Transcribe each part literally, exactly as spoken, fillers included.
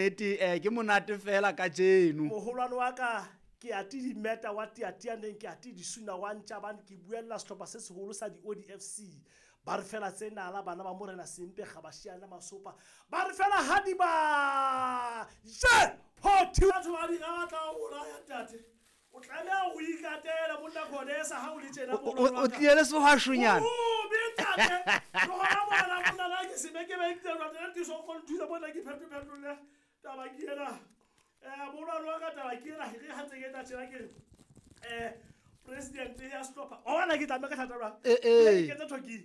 Ete eh ke monate fela kajeno. Moholwane wa ka ke ate dimeta wa tiatianeng ke ate disuna wa ntjabane ke buella sehlopha se seholo sa di-O D F C. Ba re fela tse nala bana ba morena Sempe Gabashiana Masopa. Ba re fela ha di ba je ho thi batho ba di batla ho bolaya ntate. O tlameha ho ikatela monna Khodesa ha o le tjena O o tlile le sehwashonyana. O be ntate. Ke hona mona monna la ke se be ke be ke tla tla so go nthusa bona ke phetho phetho le taba ke ena. Eh molwana wa ka taba ke ena re ha tse ke tla tjena ke eh president ya sehlopha. O bona ke tlameha ka thata jwang? Eh eh. Ke tsa thoki.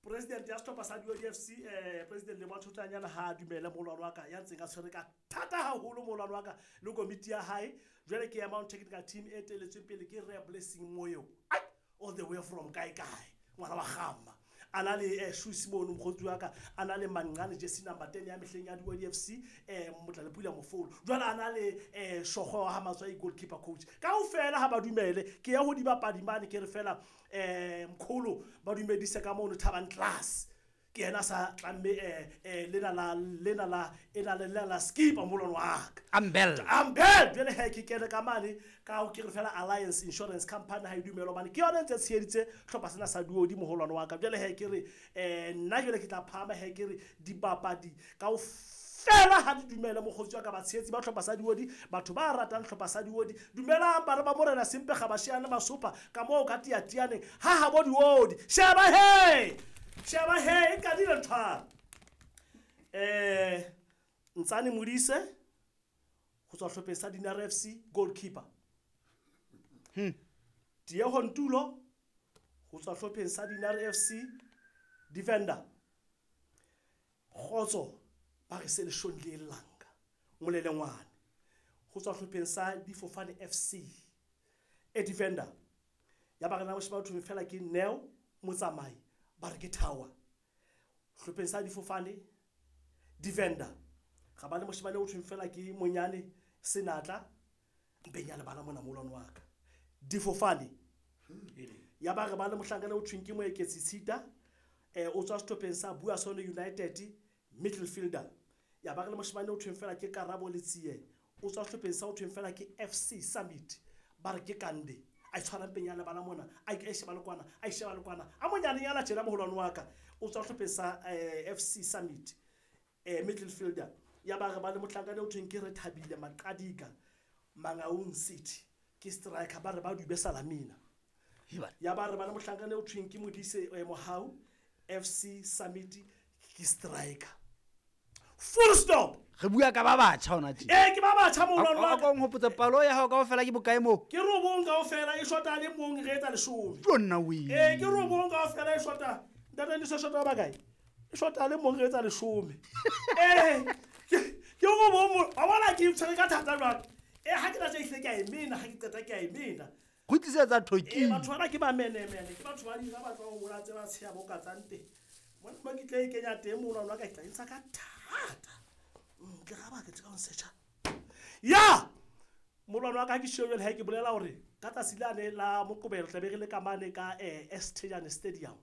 President ya sehlopha sa D O D F C eh president le Mathotanyana ha dumele molwana wa ka ya ntseng a tshwere ka thata haholo molwana wa ka le komiti ya hae. Jwale ke ya Mount Technical Team e teletsweng pele ke Re Blessing Moyo. Ai all the way from kae kae ngwana wa Gamma. Ana le eh Shusi mono mokgotsi wa ka ana le Manqane jersey number ten ya mehleng ya D O D F C eh Motlalepula Mofolo. Jwale ana le eh Shogwe wa ha Matswai goalkeeper coach. Kaofela ha ba dumele ke ya ho dibapadi mane ke re fela eh mkholo ba dumedise ka mono Thabang class. Ke yena sa tlamme eh eh lena la lena la ena le la skipper molwana wa ka. Ambel. Ambel jwale he ke kene ka mane ka ho ke re fela Alliance Insurance Company ha e dumela hobane ke yona ntse tsheheditse hlopha sena sa Duodi moholwane wa ka. Jwale he ke re eh nna jwale ke tla phahama he ke re dibapadi kaofela ha di dumele mokgotsi wa ka batshehetsi ba hlopha sa Duodi batho ba ratang hlopha sa Duodi dumelang bana ba morena Sempe Gabashiana Masopa ka moo ka tiatianeng ha ha bo Duodi sheba he sheba he e kadile ntho eh Ntsane Modise go tswa hlopheng sa Dinare F C goalkeeper. Hmm. Diego Ntulo go tswa hlopheng sa Dinare F C defender. Kgotso ba re se le shonle langa molelengwane go tswa hlopheng sa Difofane F C e defender. Ya ba re na moshima batho fela ke Neo Motsamai ba re ke Tower hlopheng sa Difofane defender. Ga ba le moshimane o thweng fela ke Monyane Senatla mpenya le bana mona molwana wa ka Difofane. Ya ba re ba le mohlankana o thweng ke Moeketsi Tshita eh o tswa sehlopheng sa Buasone United midfielder. Ya ba re le moshimane o thweng fela ke Karabo Letsie o tswa sehlopheng sa o thweng fela ke F C Summit ba re ke Kande a tshwara mpenya le bana mona a e sheba le kwana a sheba le kwana a monyane yana tjena moholwane wa ka o tswa sehlopheng sa F C Summit eh midfielder. Ya ba re ba le mohlankana o thweng ke re Thabile Maqadika Mangaung City ke striker ba re ba dube Salamina. Ya ba re ba le mohlankana o thweng ke Modise Mohau F C Summit ke striker. Full stop. Re bua ka ba batjha hona tje. Eh ke ba batjha molwana wa ka. O nkgopotsa palo ya hao kaofela ke bokae moo? Ke robong kaofela e shota le mong re etsa leshome. Ke nna o ile. Eh ke robong kaofela e shota. Ntate le shota ba kae? E shota le mong re etsa leshome. Eh ke robong wa bona ke tshwere ka thata jwang. Eh ha ke tla tje ke a emena ha ke qeta ke a emena. Kgutlisetsa thoki. Eh batho bana ke ba menemene ke batho ba dira ba tswa ho bola tse ba tsheya bo ka tsang teng. Mona mo ke tla e kenya teng molwana wa ka ke tla intsha ka thata. Ke ga ba ke tla o searcha. Ya! Molwana wa ka ke shebele ha ke bolela hore ka tsatsi lane la Moqebelo tla be re le ka mane ka eh Estejane Stadium.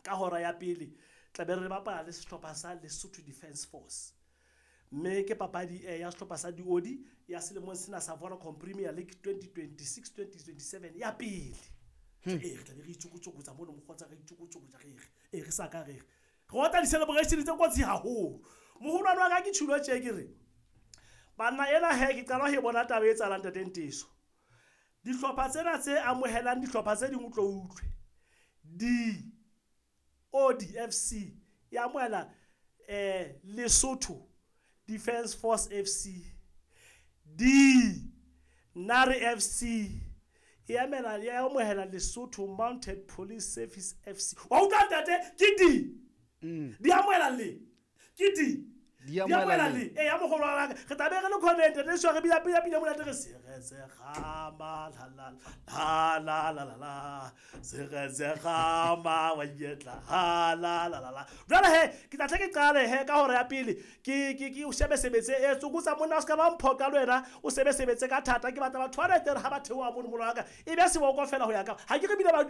Ka hora ya pele tla be re bapala le sehlopha sa Lesotho Defence Force. Mme ke papadi eh ya sehlopha sa Duodi ya selemong sena sa Vodacom Premier League twenty twenty-six twenty twenty-seven ya pele. Eh re tla be re itsokotsokotsa mono mokgotsa re itsokotsokotsa re re eh re sa ka re. Re otla di-celebration tse kotsi haholo. Moholwane wa ka ke tjhulo tje ke re banna ena he ke qala ho bona taba e etsahalang ntate Nteso. Dihlopha tsena tse amohelang dihlopha tse ding o tlo utlwe. D O D F C ya amohela eh Lesotho Defence Force F C. D Nare F C e amela ya amohela Lesotho Mounted Police Service F C. Wa utlwa ntate ke D. Di amohela le ke D. Di amohela le. Eh ya mogolo wa ka re tla be re le comment re swa re bina pina pina monate re se re se gama la la la la la la la se re se gama wa yetla ha la la la la. Jwale he ke tla tle ke qale he ka hora ya pele ke ke ke o shebe sebetse e tsokotsa monna o ska ba mphoka le wena o sebe sebetse ka thata ke batla batho ba rete ha ba theoha mono molo wa ka e be seboko fela ho ya ka ha ke re bile ba dula